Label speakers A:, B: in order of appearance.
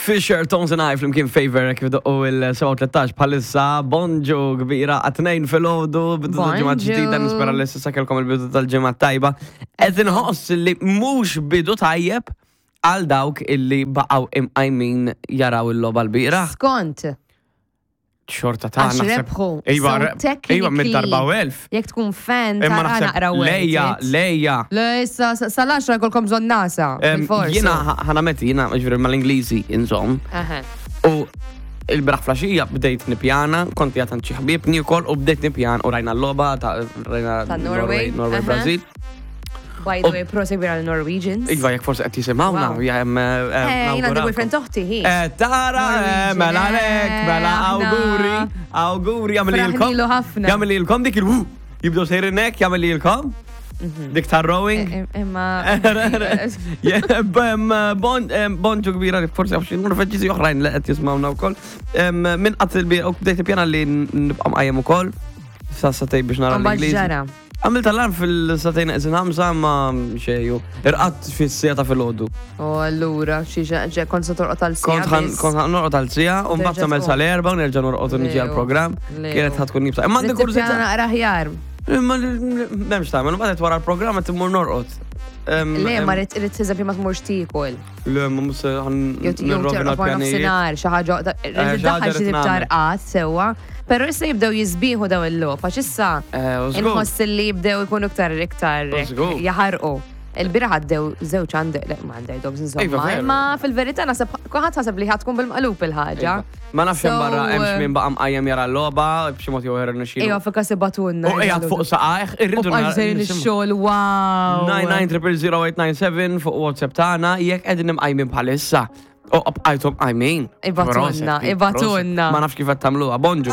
A: Fisher, Tones and I flimkien Favor kif doqqu il-7:13 bħalissa bonġu kbira għat-tnejn filgħodu bidu tal-ġimgħa
B: Bonġu.
A: ġdida nispera li s'issa kellkom il-bidu tal-ġimgħa tajba. Qed inħoss li mhux bidu tajjeb għal dawk illi baqgħu imqajmin jaraw il-logħba l-bieraħ.
B: Skont.
A: Xorta ta'
B: Għax rebħu.
A: Iva,
B: So
A: re- iva mid-darba u elf.
B: Jekk tkun fan,
A: Imma
B: tara
A: naħseb
B: naqra
A: lejja,
B: worth it.
A: lejja.
B: Le, issa, sal-10 jkollkom bżonn nasa. Bilfors.
A: Jiena ħanameti, jiena ġifieri mal-Ingliżi inżomm.
B: Aha.
A: U il-braħ flaxija bdejt nipjana, kont jgħat għand xi ħbieb niekol u bdejt nipjan u rajna l-logħba ta' rajna
B: Ta' Norway,
A: Norway
B: aha.
A: Brazil.
B: By the way, prosit kbira għal Norwegians.
A: Iva, jekk forsi qed jisimgħuna,
B: Wow.
A: jem.
B: Eh, jien għandi boyfriend toħti, hi.
A: Eh, tara, eh,
B: Norwegian,
A: mela
B: eh,
A: lek, mela
B: aħna.
A: auguri, auguri, jagħmel
B: Fraħnilu ħafna.
A: Jagħmel lilkom dik il-wu. Jibdew sejrin hekk, jagħmel lilkom. Dik tar rowing.
B: Mhm. Eh, Imma.
A: Bonġu kbira li forsi għaf xi norveġiżi oħrajn li qed jismawna wkoll. Min qatt il-bir u bdejt ippjana li nibqa' mqajjem ukoll. Sa satej biex nara
B: Mbagħad
A: l-Ingliż.
B: ġara.
A: Għamilt alarm fil-satejn eqsin ħamsa ma xejju. Irqadt fis-sija ta' filgħodu.
B: U allura, xi ġe kont se torqod għal
A: Kont
B: sija.
A: ħan kont ħan norqod għal sija u mbagħad
B: Terġa'
A: tagħmel
B: tqum.
A: sal-erba' u nerġa' norqod u niġi
B: Lew.
A: għall-programm.
B: Lew.
A: Kienet ħa tkun jibsa. Imma għandi kurżità.
B: Naqra ħjar.
A: Imma m'hemmx tagħmel, mbagħad wara l-programm qed immur norqod.
B: Le, ma rrid irrid eżempju ma tmurx tiekol.
A: Le, ma mhux se ħan
B: Jew jew
A: nirrovina
B: terqod wara
A: l-pjanijiet.
B: nofsinhar, xi ħaġa
A: Eh,
B: rrid
A: xi ħaġa
B: iddaħħal xi
A: rrid
B: tip ta'
A: nagħmel.
B: rqad sewwa. Però issa jibdew jisbieħu daw il-logħob għax issa
A: Eh, u żgur.
B: inħoss li jibdew ikunu iktar iktar
A: U żgur.
B: jaħarqu. Il-bieraħ għaddew żewġ under, le, ma underdogs
A: Iva,
B: insomma,
A: veru.
B: imma fil-verità naħseb kulħadd ħaseb li ħatkun bil-maqlub il-ħaġa.
A: Iva. Ma nafx hemm
B: So,
A: barra hemmx min baqa' mqajjem jara l-logħba b'xi mod jew ieħor irnexxielu.
B: Ejwa fil-każ ibatunna.
A: U qiegħed fuq saqajh, irridu
B: U bqajt sejrin
A: nisimgħu.
B: ix-xogħol, wow.
A: 9900897 fuq WhatsApp tagħna jekk qegħdin imqajmin bħalissa. U bqajtu mqajmin.
B: Ibatunna,
A: Proset,
B: ibatunna.
A: proset. Ma nafx kif qed tagħmluha. Bonġu.